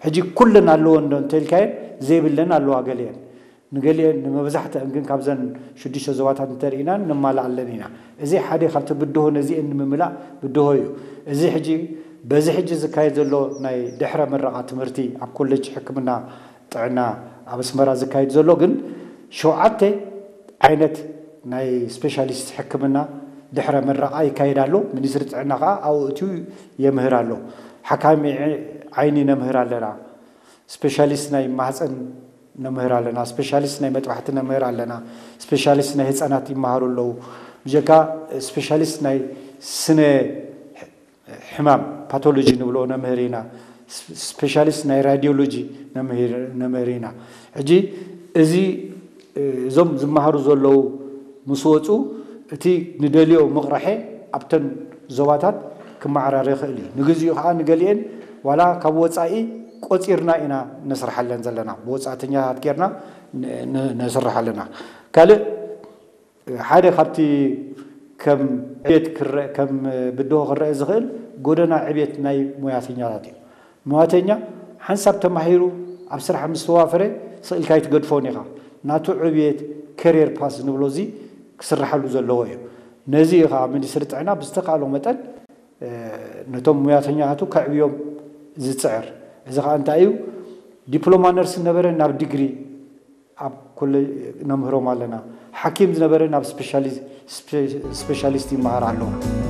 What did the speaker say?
ሕጂ ኩለን ኣለዎ እንዶ እንተልካየን ዘይብለን ኣለዋ ገሊአን። ንገሊአን ንመብዛሕትአን ግን ካብዘን ሽዱሽተ ዞባታት እንተርኢናን ነማልኣለን ኢና። እዚ ሓደ ካብቲ ብድሆ ነዚአን ንምምላእ ብድሆ እዩ። እዚ ሕጂ በዚ ሕጂ ዝካየድ ዘሎ ናይ ድሕረ ምረቓ ትምህርቲ ኣብ ኮሌጅ ሕክምና ጥዕና ኣብ ኣስመራ ዝካየድ ዘሎ ግን ሸውዓተ ዓይነት ናይ ስፔሻሊስት ሕክምና ድሕረ ምረቓ ይካየድ ኣሎ። ሚኒስትሪ ጥዕና ከዓ ኣብኡ እትዩ የምህር ኣሎ። ሓካሚ ዓይኒ ነምህር ኣለና። ስፔሻሊስት ናይ ማህፀን ነምህር ኣለና። ስፔሻሊስት ናይ መጥባሕቲ ነምህር ኣለና። ስፔሻሊስት ናይ ህፃናት ይመሃሩ ኣለዉ። ብጀካ ስፔሻሊስት ናይ ስነ ሕማም ፓቶሎጂ ንብሎ ነምህር ኢና። ስፔሻሊስት ናይ ራዲዮሎጂ ነምህር ኢና። ሕጂ እዚ እዞም ዝመሃሩ ዘለዉ ምስ ወፁ እቲ ንደልዮ ምቕራሐ ኣብተን ዞባታት ክመዓራረ ይኽእል እዩ። ንግዚኡ ከዓ ንገሊአን ዋላ ካብ ወፃኢ ቆፂርና ኢና ነስርሓለን ዘለና። ብወፃእተኛታት ጌርና ነስርሕ ኣለና። ካልእ ሓደ ካብቲ ከም ዕቤት ክረአ ከም ብድሆ ክረአ ዝኽእል ጎደና ዕቤት ናይ ሞያተኛታት እዩ። ሞያተኛ ሓንሳብ ተማሂሩ ኣብ ስራሕ ምስ ተዋፈረ ስቕ ኢልካ ኣይትገድፎን ኢኻ። ናቱ ዕብየት፣ ከሪየር ፓስ ንብሎ እዚ ክስርሓሉ ዘለዎ እዩ። ነዚ እዩ ከዓ ሚኒስትሪ ጥዕና ብዝተኻእሎ መጠን ነቶም ሙያተኛታቱ ከዕብዮም ዝፅዕር። እዚ ከዓ እንታይ እዩ? ዲፕሎማ ነርስ ነበረ ናብ ዲግሪ ኣብ ኮሌጅ ነምህሮም ኣለና። ሓኪም ዝነበረ ናብ ስፔሻሊስት ይመሃር ኣሎ።